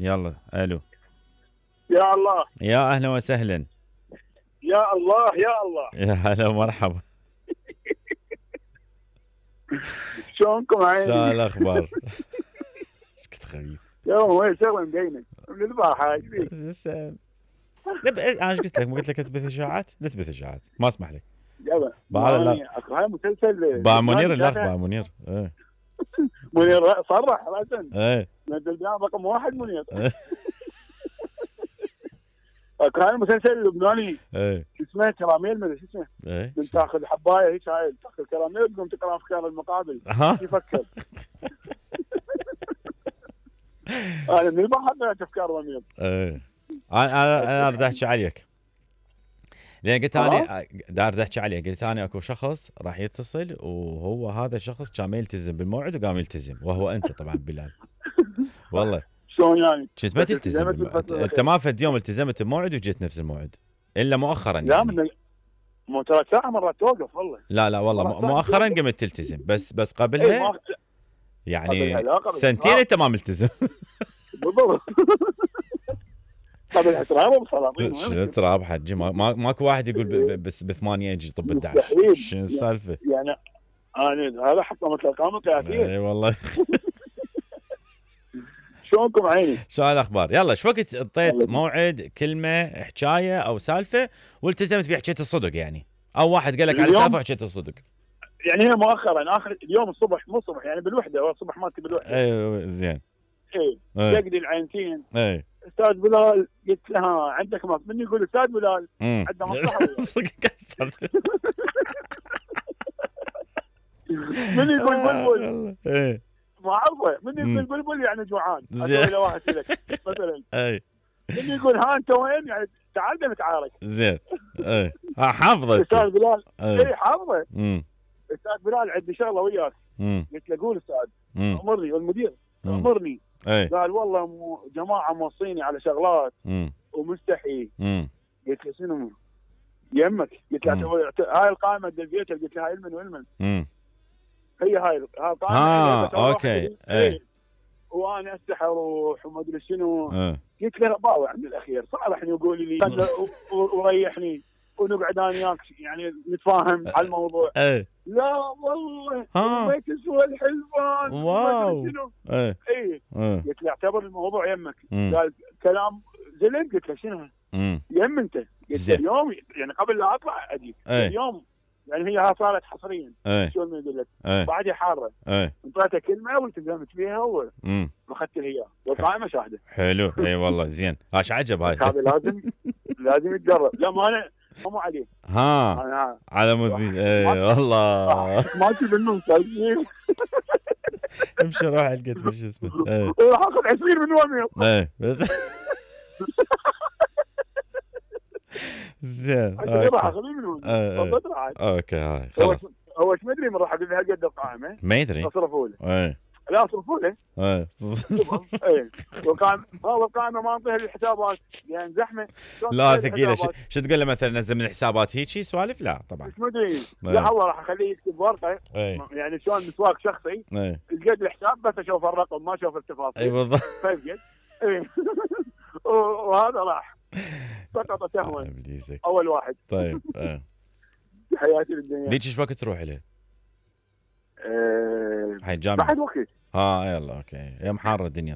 يلا الو. يا الله يا اهلا وسهلا. يا الله يا الله. يا هلا ومرحبا. شلونكم عيني؟ شو الاخبار؟ ايش كنت خبيث. يوم وين شغله مدينه من البارحه ايش بيك؟ انا ايش قلت لك؟ ما قلت لك لا تبث اشاعات؟ لا تبث اشاعات، ما اسمح لك. يلا اكو هاي مسلسل باع منير الاخ باع منير. منير صرح راسا. ايه نزل رقم واحد منير. اكو هاي المسلسل اللبناني اسمه كراميل، ما ادري شو اسمه. كنت تاخذ حبايه هيك، هاي تاخذ كراميل تقوم تقرا افكار المقابل. يفكر. انا من البحر طلعت افكار ضمير. انا اريد احكي عليك، لان قلت انا دار احكي عليه. قلت انا اكو شخص راح يتصل وهو هذا الشخص كان ما يلتزم بالموعد وقام يلتزم، وهو انت طبعا بلال. والله شلون يعني؟ كنت ما تلتزم انت ما فد يوم التزمت بموعد وجيت نفس الموعد الا مؤخرا يعني. لا من مو 3 ساعة مرات توقف والله. لا والله مؤخرا قمت تلتزم، بس قبلها يعني سنتين انت ما ملتزم. بالضبط. قبل تراب وسلاطين. شنو تراب حجي؟ ماكو واحد يقول بس ب8 اجي طب 11. شنو السالفه؟ يعني انا هذا حطمت الارقام القياسيه. اي والله. شلونكم عيني؟ شو الاخبار؟ يلا شو وقت اعطيت موعد كلمه حكايه او سالفه والتزمت بيه حكيت الصدق يعني، او واحد قال لك على سالفه وحكيت الصدق؟ يعني هي مؤخرا اخر اليوم الصبح، مو الصبح يعني بالوحده، هو الصبح مالتي بالوحده. ايوه زين. يقضي العينتين. استاذ بلال، قلت له عندك من يقول استاذ بلال عنده مصلحه. من يقول بلبل؟ ما اعرفه. من يقول بلبل يعني جوعان. اقول له واحد لك مثلا. من يقول ها انت وين يعني تعال نتعارك. زين. حافظه استاذ بلال. حافظه. استاذ بلال عندي شغله وياك. قلت له قول استاذ. امرني. والمدير امرني. قال والله جماعه موصيني على شغلات ومستحي. قلت له شنو يمك؟ قلت له هاي القائمه دزيتها. قلت له هاي المن والمن. هي هاي القائمه. اوكي. وانا استحي اروح وما ادري شنو. قلت له باوع عند الاخير صالحني وقول لي وريحني ونقعد انا وياك يعني نتفاهم على الموضوع. لا والله ما تسوى الحلفان. واو. قلت له اعتبر الموضوع يمك. قال كلام زلم. قلت له شنو يم انت؟ قلت له اليوم يعني قبل لا اطلع اجيك اليوم يعني هي صارت حصريا. شو ما يقول لك بعدها حاره. انطيتها كلمه والتزمت فيها واخذت لها اياها والقائمه شاهده. حلو. اي والله زين. ايش عجب هاي. هذا لازم يتجرب. لا ما انا مو عليه. على مذيع. اي والله ما تجي منهم سالفين. امشي روح القيت وش اسمه. راح اخذ 20 من وين. زين. راح اخذ منهم. اوكي هاي خلاص. هو ايش ما ادري من راح اقول لها قد القائمه. ما يدري. اصرفوا له. لا اصرفوا له. والقائمه ما انطيها للحسابات يعني زحمه. لا ثقيله. شو تقول له مثلا نزل من الحسابات هيك سوالف؟ لا طبعا. مش مدري. لا والله راح اخليه يكتب ورقه. يعني شلون مسواق شخصي. القد الحساب بس اشوف الرقم ما اشوف التفاصيل. اي بالضبط. وهذا راح سقط سهوا. اول واحد. طيب. حياتي بالدنيا. ليش ايش وقت تروح له؟ بعد وقت. يلا اوكي. يا محاره الدنيا.